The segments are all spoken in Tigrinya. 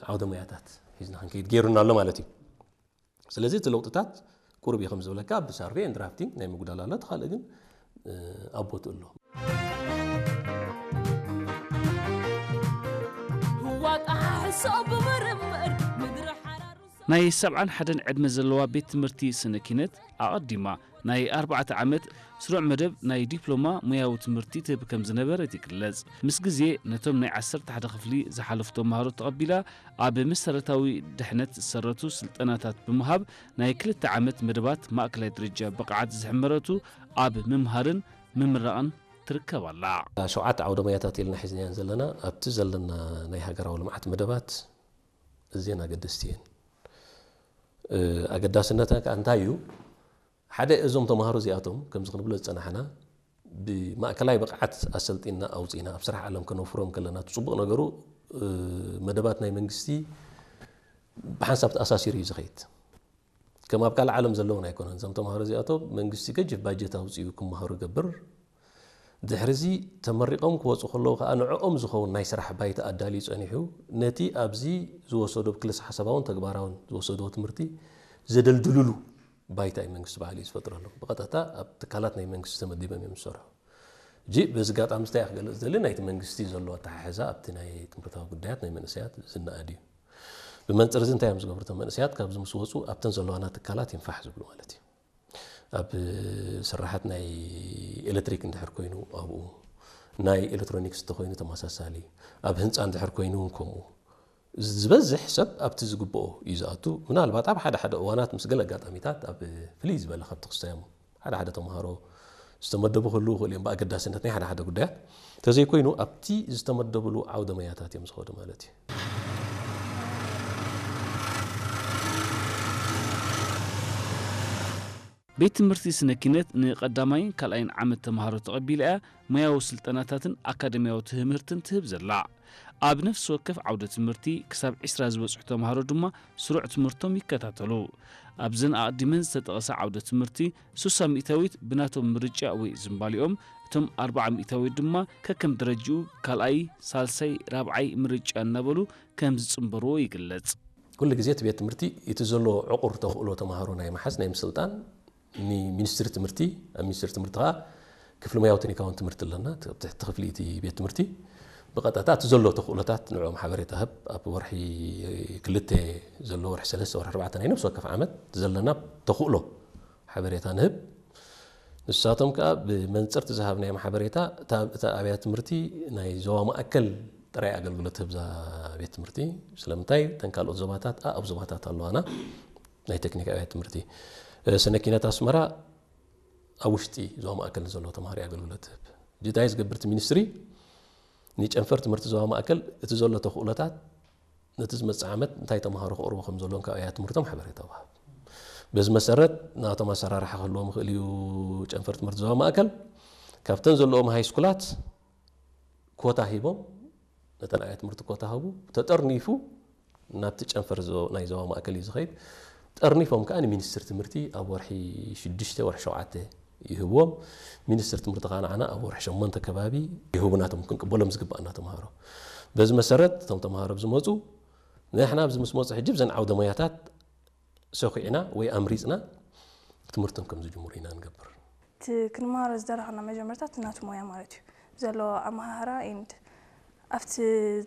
ዓውደ ሞያታት ሒዝና ክንከይድ ገይሩና ኣሎ ማለት እዩ። ስለዚ እቲ ለውጥታት ቁሩብ እዩ ከም ዝብለካ፣ ብሳርቬ ኤንድ ድራፍቲንግ ናይ ምጉዳል ኣሎ፣ እቲ ካልእ ግን ኣብ ቦትኡ ኣሎ። ናይ ሰብዓን ሓደን ዕድመ ዘለዋ ቤት ትምህርቲ ስነ ኪነት ኣቐዲማ ናይ ኣርባዕተ ዓመት ስሩዕ መደብ ናይ ዲፕሎማ ሞያዊ ትምህርቲ ትህብ ከም ዝነበረት ይግለጽ። ምስ ግዜ ነቶም ናይ ዓሰርተ ሓደ ክፍሊ ዝሓለፉ ተምሃሮ ተቐቢላ ኣብ መሰረታዊ ድሕነት ዝሰረቱ ስልጠናታት ብምሃብ ናይ ክልተ ዓመት መደባት ማእከላይ ደረጃ ብቕዓት ዝሕመረቱ ኣብ ምምሃርን ምምራቕን ትርከብ ኣላ። ሸውዓተ ዓውደ ሞያታት ኢልና ሒዝናየን ዘለና ኣብቲ ዘለና ናይ ሃገራዊ ልምዓት መደባት እዚን ኣገደስቲ እየን። ኣገዳስነተን ከኣ እንታይ እዩ? ሓደ እዞም ተምሃሮ እዚኣቶም ከምዚ ክንብሎ ዝጸናሕና ብማእከላይ ብቕዓት ኣሰልጢና ኣውጺና ኣብ ስራሕ ዓለም ከነውፍሮም ከለና እቲ ጽቡቕ ነገሩ መደባት ናይ መንግስቲ ብሓንሳብ ተኣሳሲሩ እዩ ዝኸይድ። ከም ኣብ ካልእ ዓለም ዘለውን ኣይኮነን። እዞም ተምሃሮ እዚኣቶም መንግስቲ ገጅፍ ባጀት ኣውጺኡ ክመሃሩ ይገብር። ድሕሪ እዚ ተመሪቖም ክወጹ ከለዉ ከኣ ንዕኦም ዝኸውን ናይ ስራሕ ባይታ ኣዳልዩ ጸኒሑ ነቲ ኣብዚ ዝወሰዶ ክልስ ሓሳባውን ተግባራውን ዝወሰድዎ ትምህርቲ ዘደልድልሉ ባይታ እዩ መንግስቲ ባዕሉ እዩ ዝፈጥረሎም። ብቐጥታ ኣብ ትካላት ናይ መንግስቲ ተመዲቦም እዮም ዝሰርሑ። ሕጂ በዚ ኣጋጣሚ እንታይ ክገልጽ ዝደሊ ናይቲ መንግስቲ ዘሎ ኣተሓሕዛ ኣብቲ ናይ ትምህርታዊ ጉዳያት ናይ መንእሰያት ዝነኣድ እዩ። ብመንጽር እዚ እንታይ እዮም ዝገብሩ እቶም መንእሰያት ካብዚ ምስ ወጹ ኣብተን ዘለዋና ትካላት እዮም ፋሕ ዝብሉ ማለት እዩ። ኣብ ስራሓት ናይ ኤሌክትሪክ እንድሕር ኮይኑ ኣብኡ ናይ ኤሌክትሮኒክስ እንተኮይኑ ተመሳሳሊ ኣብ ህንፃ እንድሕር ኮይኑ እውን ከምኡ ዝበዝሕ ሰብ ኣብቲ ዝግብኦ እዩ ዝኣቱ። ምናልባት ኣብ ሓደ ሓደ እዋናት ምስ ገለ ኣጋጣሚታት ኣብ ፍልይ ዝበለ ካብቲ ክስታዮም ሓደ ሓደ ተምሃሮ ዝተመደቡ ክህልዉ ይኽእሉ እዮም ብኣገዳስነት ናይ ሓደ ሓደ ጉዳያት እንተዘይኮይኑ ኣብቲ ዝተመደብሉ ዓውደ መያታት እዮም ዝኸዱ ማለት እዩ። ቤት ትምህርቲ ስነ ኪነት ንቐዳማይን ካልኣይን ዓመት ተምሃሮ ተቐቢላ እያ ሞያዊ ስልጠናታትን ኣካደሚያዊ ትምህርትን ትህብ ዘላ። ኣብ ነፍሲ ወከፍ ዓውደ ትምህርቲ ክሳብ ዕስራ ዝበጽሑ ተምሃሮ ድማ ስሩዕ ትምህርቶም ይከታተሉ። ኣብዘን ኣቐዲመን ዝተጠቐሳ ዓውደ ትምህርቲ ሱሳ ሚእታዊት ብናቶም ምርጫ ወይ ዝምባሊኦም፣ እቶም ኣርብዓ ሚእታዊት ድማ ከከም ደረጅኡ ካልኣይ፣ ሳልሳይ፣ ራብዓይ ምርጫ እናበሉ ከም ዝጽንበርዎ ይግለጽ። ኩሉ ግዜ እቲ ቤት ትምህርቲ እቲ ዘለዎ ዕቑር ተኽእሎ ተምሃሮ ናይ ምሓዝ ናይ ምስልጣን ንሚኒስትሪ ትምህርቲ ኣብ ሚኒስትሪ ትምህርቲ ከዓ ክፍሊ ሞያዊ ቴክኒካውን ትምህርቲ ኣለና ትሕቲ ክፍሊ እቲ ቤት ትምህርቲ ብቐጥታ እቲ ዘሎ ተኽእሎታት ንዕኦም ሓበሬታ ህብ ኣብ ወርሒ ክልተ ዘሎ ወርሒ ሰለስተ ወርሒ ኣርባዕተ ናይ ነብሲ ወከፍ ዓመት ዘለና ተኽእሎ ሓበሬታ ንህብ ንሳቶም ከዓ ብመንፅርቲ ዝሃብናዮም ሓበሬታ እታ ኣብያ ትምህርቲ ናይ ዞባ ማእከል ጥራይ ኣገልግሎት ህብዛ ቤት ትምህርቲ ስለምንታይ ተን ካልኦት ዞባታት ኣብ ዞባታት ኣለዋና ናይ ቴክኒክ ኣብያት ትምህርቲ ስነ ኪነት ኣስመራ ኣብ ውሽጢ ዞባ ማእከል ንዘለዉ ተምሃሮ ኣገልግሎት ትህብ ጅታይ ዝገብርቲ ሚኒስትሪ ንጨንፈር ትምህርቲ ዞባ ማእከል እቲ ዘሎ ተኽእሎታት ነቲ ዝመፅእ ዓመት እንታይ ተምሃሮ ክቕርቡ ከም ዘለዎም ካብ ኣብያት ትምህርቶም ሓበሬታ ወሃብ በዚ መሰረት ናቶም ኣሰራርሓ ክህልዎም ይኽእል እዩ ጨንፈር ትምህርቲ ዞባ ማእከል ካብተን ዘለዎም ሃይስኩላት ኮታ ሂቦም ነተን ኣብያት ትምህርቲ ኮታ ሃቡ ተጠርኒፉ ናብቲ ጨንፈር ናይ ዞባ ማእከል እዩ ዝኸይድ ጠርኒፎም ከዓ ንሚኒስትር ትምህርቲ ኣብ ወርሒ ሽዱሽተ ወርሒ ሸውዓተ ይህብዎም ሚኒስትር ትምህርቲ ከዓ ንዓና ኣብ ወርሒ ሸሞንተ ከባቢ ይህቡና እቶም ክንቅበሎም ዝግባኣና ተምሃሮ በዚ መሰረት እቶም ተምሃሮ ዝመፁ ንሕና ኣብዚ ምስ መፁ ሕጂ ብዘን ዓውደ ሞያታት ሰኺዕና ወይ ኣምሪፅና ትምህርቶም ከም ዝጅምሩ ኢና ንገብር። እቲ ክንመሃሮ ዝደረኽና መጀመርታ እቲ ናቱ ሞያ ማለት እዩ ዘለዎ ኣመሃህራ and ኣብቲ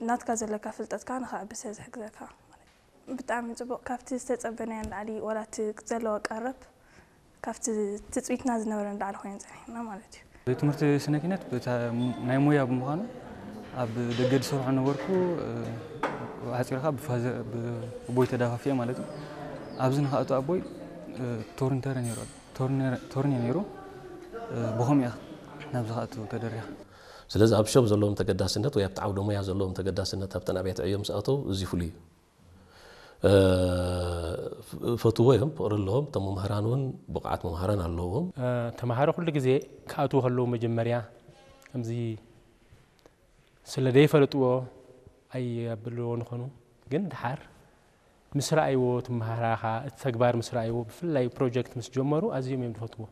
ናትካ ዘለካ ፍልጠት ከዓ ንኸዕብሰ ዝሕግዘካ ማለት እዩ። ብጣዕሚ ፅቡቕ ካብቲ ዝተፀበናዮ ንላዕሊ ዋላ እቲ ዘለዎ ቀረብ ካብቲ ትፅቢትና ዝነበረ ንላዕሊ ኮይነ ፀኒሕና ማለት እዩ። ትምህርቲ ስነ ኪነት ናይ ሞያ ብምዃኑ ኣብ ደገ ዝሰርሖ ነበርኩ። ሓፂርካ ብቦይ ተዳፋፊአ ማለት እዩ። ኣብዚ ንክኣቱ ኣቦይ ቶርኒተረ ነይሩ ቶርኒ ነይሩ ብኸምኡ እያ ናብ ዝክኣቱ ተደሪኻ። ስለዚ ኣብ ሸብ ዘለዎም ተገዳስነት ወይ ኣብቲ ዓውደ ሞያ ዘለዎም ተገዳስነት ኣብተን ኣብያተ ዕዮ ምስ ኣተው እዚ ፍሉይ እዩ። ፈትዎ እዮም ፍቕሪ ኣለዎም እቶም መምህራን እውን ብቕዓት መምህራን ኣለዎም። ተምሃሮ ኩሉ ግዜ ክኣትዉ ከለዉ መጀመርያ ከምዚ ስለ ደይፈለጥዎ ኣየብልዎ ንኾኑ ግን ድሓር ምስ ረኣይዎ እቲ መሃራኻ እቲ ተግባር ምስ ረኣይዎ ብፍላይ ፕሮጀክት ምስ ጀመሩ ኣዝዮም እዮም ዝፈትዎ።